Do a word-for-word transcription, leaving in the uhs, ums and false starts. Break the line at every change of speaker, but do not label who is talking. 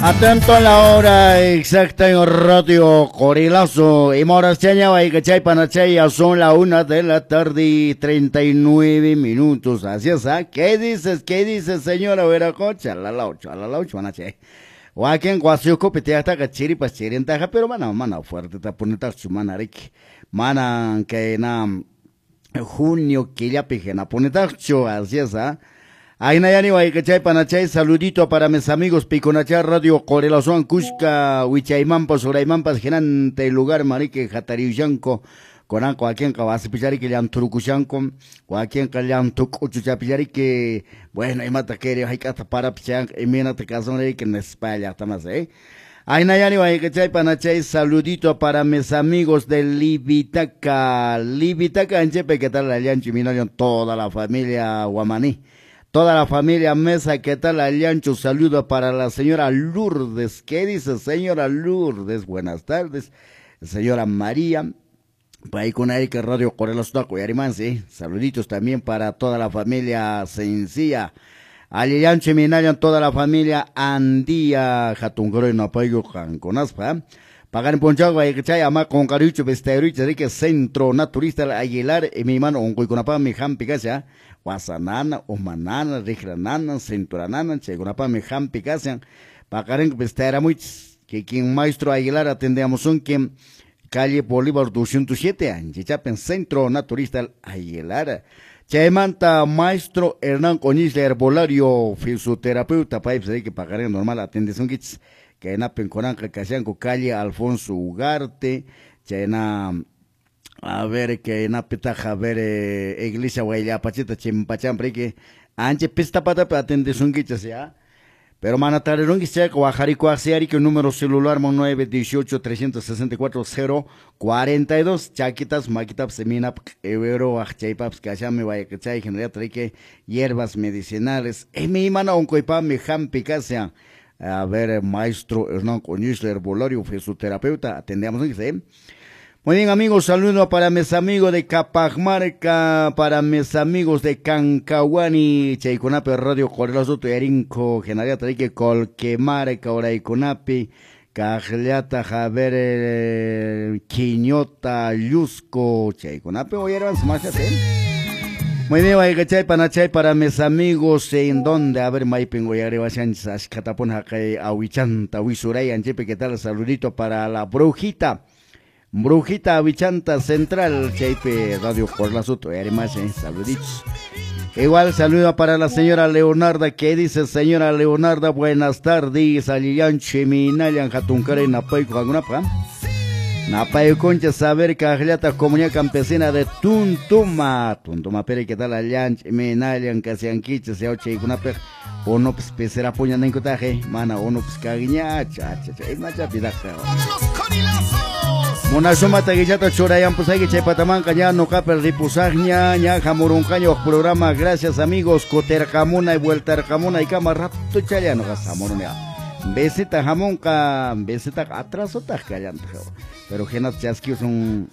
Atento a la hora exacta en Radio Corilazo. Y Morachaña, Chay, Panachay, son la una de la tarde y treinta y nueve minutos. Así es, ¿ah? ¿Qué dices? ¿Qué dices, señora Veracocha? La la ocho, la la ocho, Panachay. Wakin guasiukupi tiyaqtaqa chiripas chirintaqa, pero mana mana fuerte tapunitaqchu mana riki. Mana kay na junio killapi hinapunitaqchu, así es, ¿ah? Ainayani Waykachay Panachay, saludito para mis amigos Piconachá Radio Corelazuan Cusca, Wichaymampas, Uraymampas, Genante, lugar marique, Jatariuyanco, Conanco, Aquienca, Vasipichariki, Llanturucushanco, Guaquienca, Llantucuchuchapichariki, bueno, y mata que hay que para pichan, y mira te caso que en España, tamas, eh. Ainayani Waykachay Panachay, saludito para mis amigos de Libitaca, Libitaca, Anchepe, ¿qué tal? Allancho y Minolion, toda la familia Guamaní. Toda la familia Mesa, ¿qué tal? Allancho, saludo para la señora Lourdes. ¿Qué dice, señora Lourdes? Buenas tardes. Señora María, ahí con Erika Radio Corelos Taco y Arimansi. Saluditos también para toda la familia Sencilla. Allancho y Minayan, toda la familia Andía, Jatungoro y Napayo, Janconaspa. Pagar en Ponchagua, y Ama con Carucho, Besterucho, Rique, Centro Naturista Aguilar, y mi mano, Oncoiconapa, mi Jampi, Casia, Guasanana, Omanana, Rijranana, Cinturanana, Chegonapa, mi Jampi, Casia, Pagaren, Besteramuich, que quien maestro Aguilar atendemos un quien calle Bolívar doscientos siete, Anchichapen, Centro Naturista Aguilar. Chaymanta, maestro Hernán Coñiz, herbolario, fisioterapeuta, país, que pagaré normal, atendes un kits. Que en Apencoranca, Casianco, calle Alfonso Ugarte, Chayna, a ver, que en Apetaja, a ver, eh, Iglesia Guayapachita, Chimpachamprique, Anche Pistapata, atendes un kits, ya. Pero manatareron que sea Guajarico, que número celular nueve dieciocho trescientos sesenta y cuatro cero cuarenta y dos, Chaquitas, Maquitaps, Semina, Evero, Achaipaps, Cachame, Guayacachay, General Trique, hierbas medicinales, Emi, Mana, Oncoipa, Mijampi, Casia. A ver, maestro Hernán Coñiz, herbolario, fisioterapeuta, atendemos, ¿eh? Muy bien, amigos, saludo para mis amigos de Capajmarca, para mis amigos de Cancahuani, Chayconape, Radio Corelazo, Tuyarinco, Genaria Trique, Colquemarca, Oraiconapi, Cajliata, Javier, eh, Quiñota, Yusco, Chayconape, oye, hermanos, más, ¿eh? Muy bien, Guaycachay, Panachay, para mis amigos, ¿en dónde? A ver, Maipin, Guayareba, Sánchez, Ashcatapón, Jacay, Ahuichanta, Huizuray, Anchepe, ¿qué tal? Saludito para la brujita, brujita Ahuichanta Central, Chaype, Radio Corlazuto, y además, eh, saluditos. Igual saludo para la señora Leonarda, ¿qué dice señora Leonarda? Buenas tardes, Alillan, Chiminayan, Jatuncare, Napaico, Agunapa. Napayo Concha, saber Cajlata, Comunidad Campesina de Tuntuma. Tuntuma, pero ¿qué tal? Allanch, Menalian, Casianquiche, Seoche, y Cunape, Onops, Pesera, Puña, Nencotaje, Mana, Onops, Caguiña, Cha, cha, cha, Macha, Pidaja. Monashuma, Taguillata, Churayan, Pusagui, Chaypatamanca, ya, no Capel, Ripusagña, ña, Jamuruncaño, programa, gracias amigos, Cotercamuna y Vueltarcamuna y Cama, Rato, Chayano, Gasamorunea. Besita jamonca, besita atraso, tajcallanta. Pero genas chasquios son.